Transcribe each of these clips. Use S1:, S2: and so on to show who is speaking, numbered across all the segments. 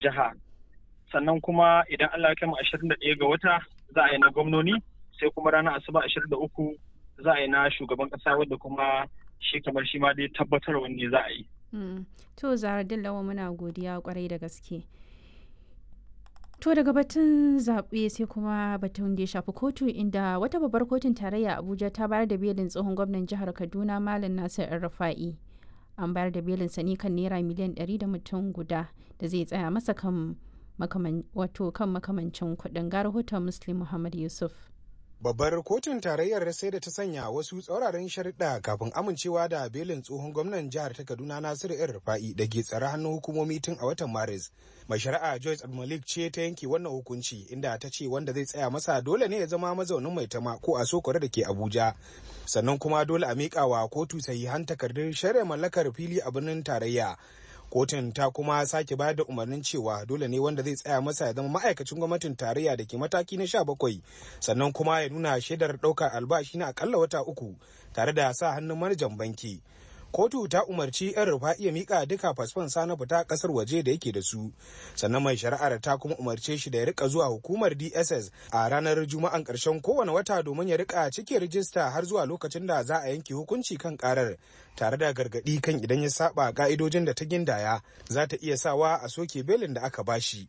S1: Jiha. Sannan kuma idan Allah ya kai mu 21 ga wata za a yi na gwamnoni, sai kuma ranar Asabar 23 za a yi na shugaban kasa, wadda kuma shi kamar shi ma dai tabbatarwa ne za a yi.
S2: To Zaharaddin Lawan, muna godiya kwarai da gaske. To daga batun zaɓe sai kuma batun da ya shafi kotu, inda wata babbar kotun tarayya Abuja ta bayar da belin tsohon gwamnan jihar Kaduna Malam Nasir El-Rufa'i. An bayar da belin sa ne kan naira miliyan 100 da mutum guda da zai tsaya masa kan wato kan makamancin kuɗin. Ga rahoton Muslim Muhammad Yusuf.
S3: Babbar kotun tarayyar sai da ta sanya wasu tsauraran sharuɗa kafin amincewa da belin tsohon gwamnan jihar ta Kaduna Nasiru El Rufa'i da ke tsare hannun hukumomi tun a watan Maris. Mai shari'a Joyce Abdulmalik ce ta yanke wannan hukunci, inda ta ce wanda zai tsaya masa dole ne ya zama mazaunin Maitama ko a Sokore da ke Abuja. Sannan kuma dole a miƙa wa kotu sahihan takardun shari'a mallakar fili a birnin tarayya. Kotun ta kuma sake bayar da umarnin cewa dole ne wanda zai tsaya masa ya zama ma'aikacin gwamnatin tarayya da ke mataki na 17, sannan kuma ya nuna shaidar ɗaukar albashi na akalla wata 3 tare da sa hannun manajan banki. Kotu ta umarci 'Yan Rufa'i ya mika duka fasfon sa na fita kasar waje da yake da su. Sannan mai shari'ar ta kuma umarce shi da ya rika zuwa hukumar DSS a ranar Juma'an karshen kowane wata domin ya rika cike rijista har zuwa lokacin da za a yanke hukunci kan karar, tare da gargadi kan idan ya saba ka'idojin da ta gindaya za ta iya sawa a soke belin da aka bashi.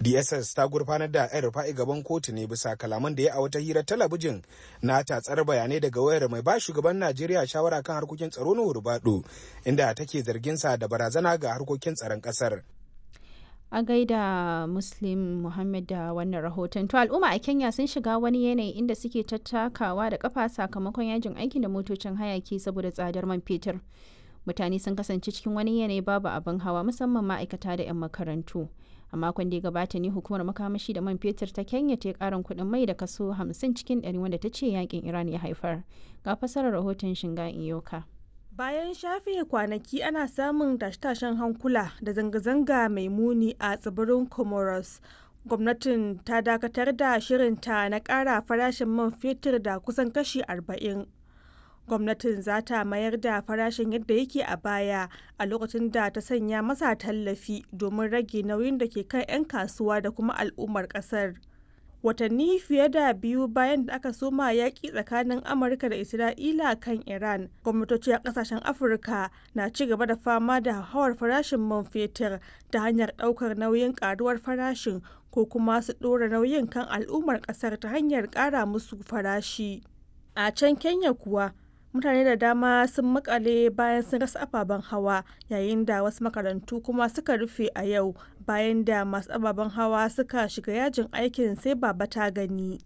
S3: DSS ta gurfanar da 'Yan Rufa'i gaban kotu ne bisa kalaman da ya a wata hirar talabijin na tatsar bayanai daga wayar mai ba shugaban Najeriya shawara kan harkokin tsaro na Hurbado, inda take zargin sa da barazana ga harkokin tsaron kasar.
S2: A gaida Muslim Muhammad da wannan rahoton. To al'umma a Kenya sun shiga wani yanayi inda suke tattakawa da kafa sakamakon yajin aikin da motocin hayaki saboda tsadar man fetur. Mutane sun kasance cikin wani yanayi babu abin hawa, musamman ma'aikata da 'yan makarantu. A makon da ya gabata ne hukumar makamashi da man fetur ta Kenya ta yi karin kuɗin mai da kaso 50 cikin 100, wanda ta ce yakin Iran ya haifar. Ga fasarar rahoton Shinga Iyoka.
S4: Bayan shafe kwanaki ana samun tashe-tashen hankula da zanga-zanga mai muni a tsibirin Comoros, gwamnatin ta dakatar da shirinta na ƙara farashin man fetur da kusan kashi 40. Gwamnatin za ta mayar da farashin yadda yake a baya a lokacin da ta sanya masa tallafi domin rage nauyin da ke kan 'yan kasuwa da kuma al'ummar kasar. Watanni fiye da biyu bayan da aka soma yaƙi tsakanin Amurka da Isra'ila kan Iran, gwamnatoci a ƙasashen Afirka na ci gaba da fama da hauhawar farashin man fetur ta hanyar ɗaukar nauyin ƙaruwar farashin ko kuma su ɗora nauyin kan al'ummar ƙasar ta hanyar ƙara musu farashi. A can Kenya kuwa, mutane da dama sun makale bayan sun rasa ababen hawa, yayin da wasu makarantu kuma suka rufe a yau bayan da masu ababen hawa suka shiga yajin aikin sai baba ta gani.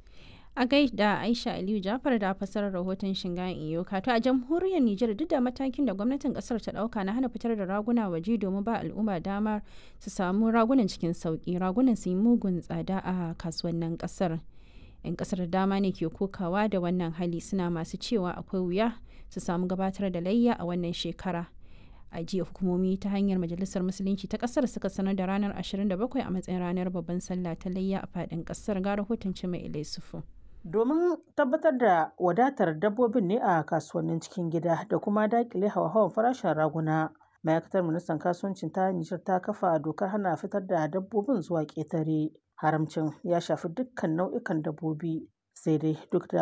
S2: A gaida Aisha Aliyu Jafar da fasarar rahoton Shinga Iyoka. To a jamhuriyar Nijar, duk da matakin da gwamnatin kasar ta dauka na hana fitar da raguna waje domin ba al'umma damar su samu ragunan cikin sauki, ragunan su yi mugun tsada a kasuwannin kasar. 'Yan kasar da dama ne ke kokawa da wannan hali, suna masu cewa akwai wuya su samu gabatar da layya a wannan shekara. A jiya hukumomi ta hanyar Majalisar Musulunci ta kasar suka sanar da ranar 27 a matsayin ranar babban sallah ta layya a fadin kasar. Ga rahoton Cima Sufu.
S5: Domin tabbatar da wadatar dabbobin ne a kasuwannin cikin gida da kuma dakile hauhawar farashin raguna, ma'aikatar ministan kasuwancin ta Nijar ta kafa dokar hana fitar da dabbobin zuwa ƙetare. Haramcin ya shafi dukkan nau'ikan dabbobi, sai dai duk da